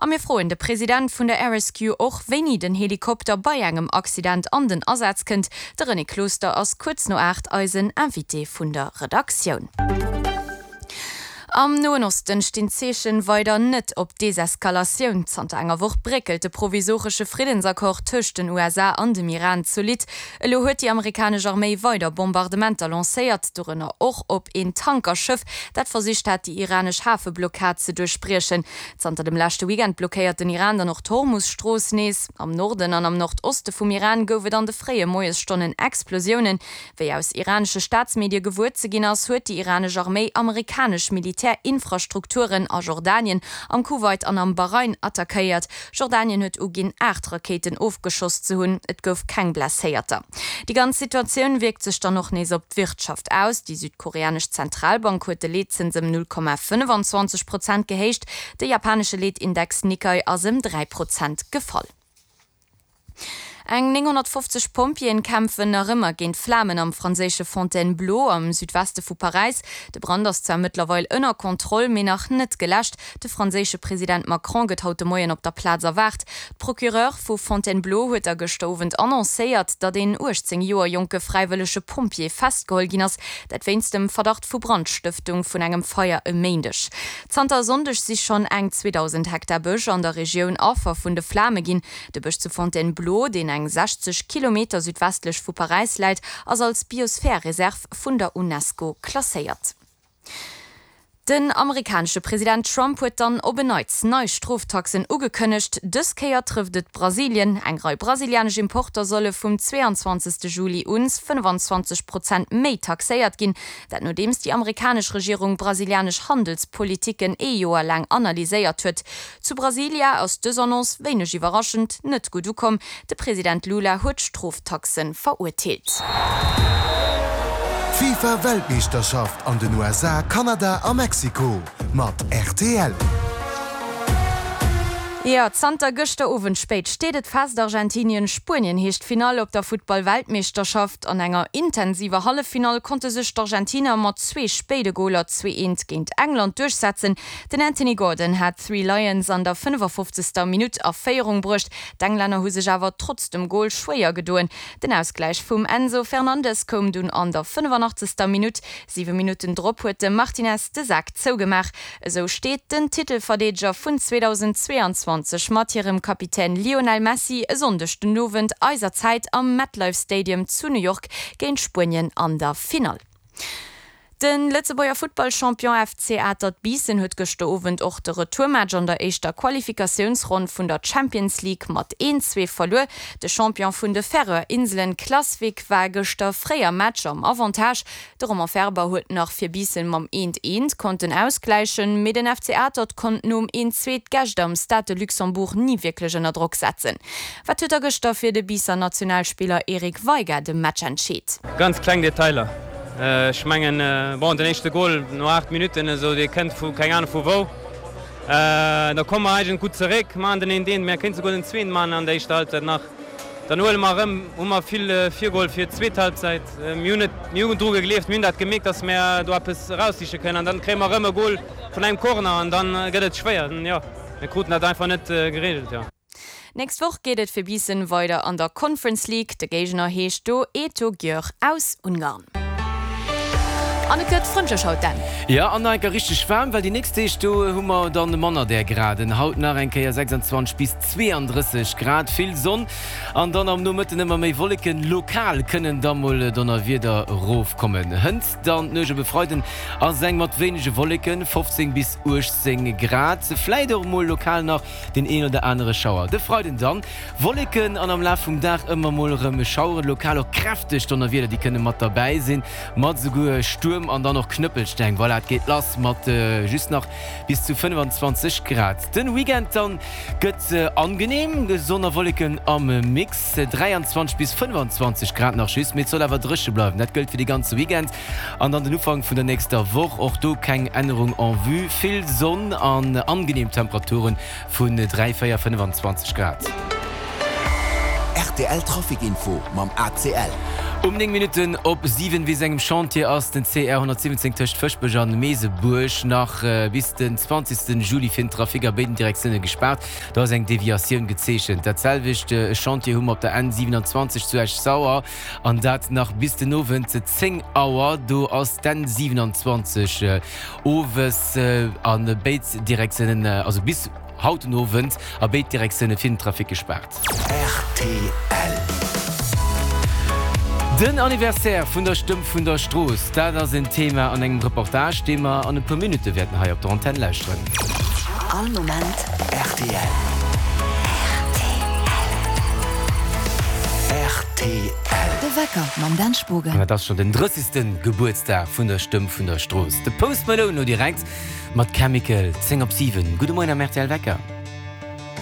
A mir froen de President vun der RSQ och, wéini den Helikopter bei engem Accident an den Asaz kënnt. De René Closter ass kuerz no 8 eisen Invité vun der Redaktioun. Am Noen Osten stinn d'Zeechen weider net op Deseskalatioun. Zanter enger Woch bréckelt de provisoresche Friddensaccord tëscht den USA an dem Iran zolidd. Elo huet déi amerikanesch Arméi weider Bombardementer lancéiert, dorënner och op een Tankerschëff, dat versicht hat, déi iranesch Hafeblockad ze duerchbriechen. Zanter dem leschte Weekend blockéiert den Iran dann och d'Hormus-Strooss nees. Am Norden an am Nordoste vum Iran gouf et an de fréie Moiesstonnen Explosiounen. Wéi aus iranesche Staatsmedie gewuer ze ginn ass, huet déi iranesch Arméi amerikanesch Militärinfrastrukturen a Jordanien, am Kuwait an am Bahrain attackéiert. Jordanien huet uginn, 8 Rakéiten ofgeschoss ze hunn. Et gouf keng Blesséierter. Déi ganz Situatioun wierkt sech dann och nees op d'Wirtschaft aus. Déi südkoreanesch Zentralbank huet de Leetzëns ëm 0,25 Prozent gehéicht. De japanesche Leetindex Nikkei ass ëm 3 Prozent gefall. Eng 950 Pompjeeën kämpfen nach ëmmer géint d'Flamen am franséische Fontainebleau am Südweste vu Paräis. De Brand ass zwar mëttlerweil ënner Kontroll, mee nach net geläscht. De franséische President Macron gëtt haut de Moien op der Plaz erwaart. D'Procureure vu Fontainebleau huet da gëschter Owend annoncéiert, datt een 18 Joer jonke fräiwëllege Pompjee festgeholl ginn ass, dat wéinst dem Verdacht vu Brandstëftung vun engem Feier e Méindeg. Zanter e Sonndeg si schonn eng 2.000 Hektar Bësch an der Regioun Affer vun de Flame ginn. De Bësch zu Fontainebleau, deen eng 60 Kilometer südwestlech vu Paräis läit, ass als Biosphärereserv vun der Unesco klasséiert. Den amerikanesche President Trump huet dann op en Neits nei Stroftaxen ugekënnegt. Dës Kéier trëfft et Brasilien. Eng Rei brasilianesch Importer solle vum 22. Juli un 25 Prozent méi taxéiert ginn. Dat nodeems déi amerikanesch Regierung brasilianesch Handelspolitiken ee Joer laang analyséiert huet. Zu Brasilia ass dës Annonce, wéineg iwwerraschend, net gutt ukomm. De President Lula huet d'Stroftaxe verurteelt. D'FIFA Weltmeeschterschaft an den USA, Kanada a Mexiko mat rtl. Jo, zanter gëschter Owend spéit steet et fest, Argentinien-Spuenien heescht d'Finall op der Futtball-Weltmeeschterschaft. An enger intensiver Halleffinall konnte sech d'Argentiner mat zwee spéide Goler 2, 1 géint England duerchsetzen. Den Anthony Gordon hat d'Three Lions an der 55. Minutt a Féierung bruecht. D'Englänner hu sech awer trotz dem Gol schwéier gedoen. Den Ausgläich vum Enzo Fernandes koum dunn an der 85. Minutt. Siwe Minutten drop huet de Martinez de Sak zougemaach. Esou steet den Titelverdeedeger vun 2022 mat hirem Kapitän Lionel Messi e Sonndeg den Owend eiser Zäit am MetLife Stadium zu New York géint Spuenien an der Finall. De Lëtzebuerger Futtballchampion FC Atert Biissen huet gëschter Owend och de Retourmatch an der éischter Qualifikatiounsronn vun der Champions League mat 1, 2 verluer. De Champion vun de Färöer Inselen Klaksvík war gëschter fréi am Match am Avantage. De Romain Ferber huet nach fir Biissen mam 1, 1 konnten ausgläichen, mee den FC Atert konnt nom 1, 2 d'Gäscht am Stade de Luxembourg ni wierklech ënner Drock setzen. Wat huet da gëschter fir de Biisser Nationalspiller Eric Veiga de Match entscheet? Ganz kleng Detailer. Ech mengen, bon, den éischte Gol no 8 Minutten esou, dee kënnt vu keng Ahnung vu wou. Da komme mer eigentlech gutt zeréck, maachen den eent eent, mir kéinte souguer den zweeten maachen an der éischter Halbzeit nach. Dann huele mer erëm, hu mer vill virgeholl fir d'zweet Halbzeit. Mir hunn et, mir hunn dru gegleeft, mir hunn dat gemierkt, datt mir do eppes eraussiche kënnen an dann kréie mer erëm e Gol vun engem Corner an dann gëtt et schwéier. Jo, mir kruten dat einfach net gereegelt, jo. Nächst Woch geet et fir Biissen weider an der Conference League. De Géigner heescht do Eto Győr aus Ungarn. An et gëtt frëndlech haut, Dan. Jo, an nach eng Kéier richteg waarm, well déi nächst Deeg do hu mer dann manner där Graden. Haut nach eng Kéier 26 bis 32 Grad, vill Sonn an dann am Nomëtten ëmmer méi Wolleken. Lokal kënnen da mol Donnerwieder rofkommen. Hënt dann d'Nuecht op e Freiden ass eng mat wéinege Wolleken, 15 bis 18 Grad, vläit och mol lokal nach Deen een oder anere Schauer. De Freiden dann Wolleken an am Laf vum Dag ëmmer mol erëm Schaueren, lokal och kräfteg Donnerwieder, déi kënne mat derbäi sinn, mat esouguer Stuerm an dann och Knëppelsteng. Voilà, et geet lass mat just nach bis zu 25 Grad. Den Weekend dann gëtt angenehm, Sonn a Wolleken am Mix, 23 bis 25 Grad nach just, mee et soll awer dréche bleiwen. Dat gëllt fir de ganze Weekend. An dann den Ufank vun der nächster Woch, och do keng Ännerung en vue, vill Sonn an angenehm Temperaturen vun 3, 4, 25 Grad. Rtl Trafic Info mam ACL. Um 9 Minutten op 7 wéi sengem Chantier ass den CR 117 tëscht Fëschbech an Meesebuerg nach bis den 20 Juli fir den Trafic a béiden Direktioune gespaart. Do ass eng Deviatioun gezeechent. Dat selwecht Chantier hu mer op der N 27 zu Esch-Sauer an dat nach bis den Owend 10 Auer. Do ass d'N 27 owes a béid Direktiounen, also bis haut den Owend a béid Direktioune fir den Trafic gespaart. Rtl. Den Anniversaire vun der Stëmm vun der Strooss, dat ass en Thema an engem Reportage, dee mer an e puer Minutte wäerten hei op der Antenn lauschteren. All Moment rtl. Rtl. De Wecker mam Dan Spogen. An et ass schonn den 30. Gebuertsdag vun der Stëmm vun der Strooss. De Post Malone lo direkt mat Chemical, 10 op 7. Gudde Moien am rtl Wecker.